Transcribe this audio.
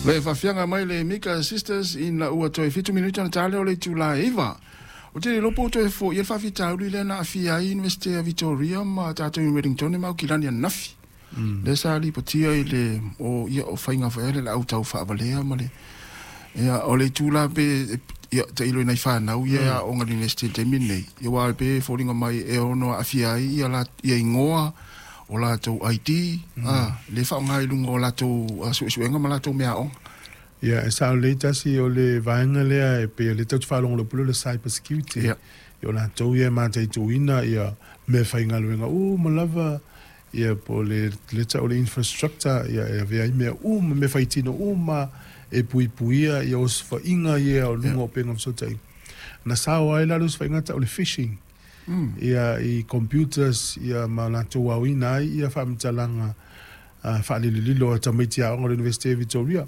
Le faafiaga mai le Mika Sisters ina ua toe 7 minute ona ta lea o le itula e 9. Ou te le iloa po ua toe foia le faafitauli lea na aafia ai Iunivesite a Victoria ma tatou i Wellington ma Aukilani ananafi. Lea sa lipotia i le o ia o faiga foi lea le au tau faavalea ma le ia o le itu la pe ia tailo i nai fanau ia e aoga i le Iunivesite i le taimi lenei. Ia aua e pei e foliga mai e ono aafia ai ia la ia igoa o latou ID, lea e faaaoga i luga o latou suesuega ma latou meaaoga. Ia, e sao lelei tasi o le vaega lea e pei o lea tatou te faalogologo pule o le cyber security. Ia o latou ia e mataituina ia meafaigaluega uma lava ia po o le lea tau o le infrastructure ia e avea ai mea uma, meafaitino uma e puipuia ia osofaiga ia o luga o upega o fesootaiga. Na sao ai la le osofaiga tau o le phishing ia i computers ia ma latou aoina ai ia faamatalaga faalilolilo a tamaiti aoga o le Iunivesite o Victoria.